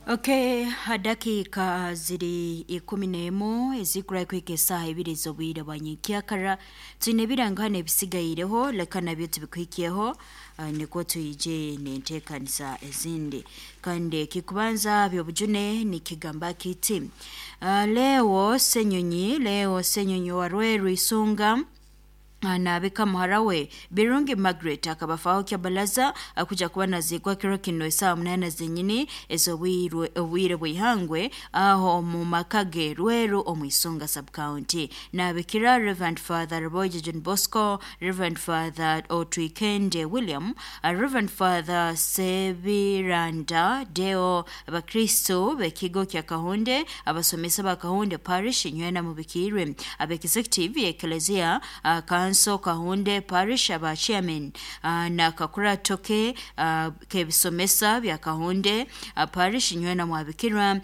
Okay, dakika ziri 11 ezikura kuhika esaaha 2 z'obwire bwa nyenkyakara. Twine ebirangano ebisigaireho, leka nabyo tubikuhikyeho, nikwo twije n'enteekaniza ezindi. Kandi kikubanza byobujune nikigamba kiti: Leo Senyonyi, Leo Senyonyi wa Rweru Isunga naabika muhara we Birungi Margaret akabafaho Kyabalaza akuja kuba naziikwa kiro kino esaaha 8 zenyini ez'obwire obwire bw'ihangwe aho omu maka ge Rweru omu Isunga Sub-County. Naabikira Reverend Father Ruboije John Bosco, Reverend Father Otwikende William, Reverend Father Sebiranda Deo, abakristo b'ekigo kya Kahunde, abasomesa ba Kahunde Parish nywena mubikirwe, ab'executive y'Eklezia Kanso Kahunde Parish, aba chairman na kakurato ke k'ebisomesa bya Kahunde Parish nywena mwabikirwa.